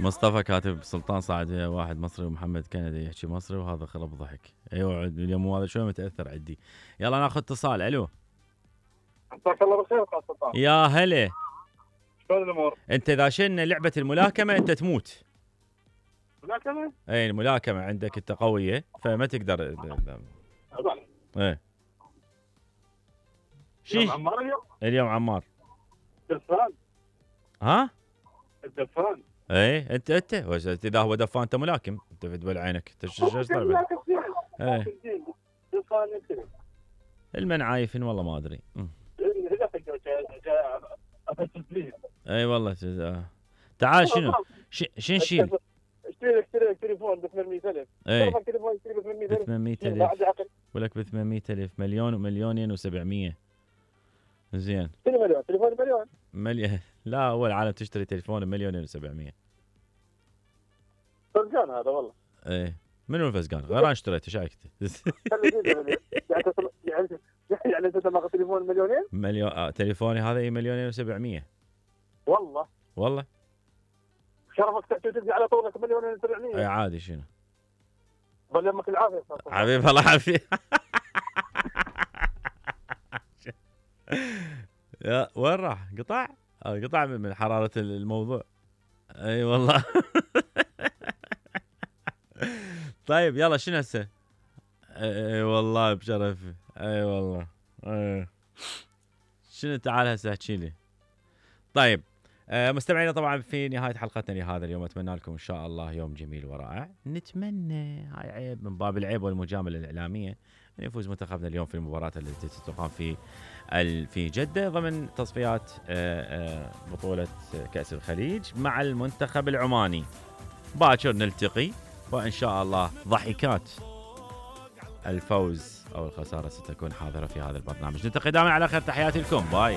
مصطفى كاتب سلطان صاعد ويا واحد مصري ومحمد كندي يحكي مصري وهذا خرب ضحك. ايوه اليوم هذا شوي متاثر عندي. يلا ناخذ اتصال. الو مساك الله بالخير استاذ سلطان. يا هلا. شلون الامور؟ انت اذا شلنا لعبه الملاكمه انت تموت. ملاكمه؟ اي الملاكمه عندك انت قويه فما تقدر. ايه اليوم عمار اليوم عمار دفان. ها؟ الدفان. ايه انت اذا هو دفان انت ملاكم انت في دبل عينك انت ايش طالع؟ ايه المنعايفين والله ما ادري. اي والله تعال شنو نشيل؟ اشتري تليفون ب 800,000. اي تليفون اشتري ب 800,000. 800,000 ولك ب 800,000 مليون ومليونين و700. زين مليون تليفون مليون. لا اول عالم تشتري تليفون بمليونين و700. فزقان هذا والله. ايه منو الفزقان؟ غيران اشتريته شايكته. يعني انت تاخذ تليفون مليونين؟ مليون تليفوني هذا اي مليونين و700. والله شرفك تحكي وتدي على طولك مليونين و700. اي عادي شنو؟ بل يمك العافيه حبيب الله يعافيك. يا وين راح؟ قطع من حراره الموضوع. اي والله. طيب يلا شنو هسه؟ اي والله بشرفي. اي والله. شنو تعال هسه احكي لي. طيب مستمعينا طبعا في نهايه حلقتنا لهذا اليوم اتمنى لكم ان شاء الله يوم جميل ورائع. نتمنى هاي عيب من باب العيب والمجامله الاعلاميه ان يفوز منتخبنا اليوم في المباراه التي تقام في جده ضمن تصفيات بطوله كاس الخليج مع المنتخب العماني. باكر نلتقي وان شاء الله ضحكات الفوز او الخساره ستكون حاضره في هذا البرنامج. نلتقي دائما على خير. تحياتي لكم. باي.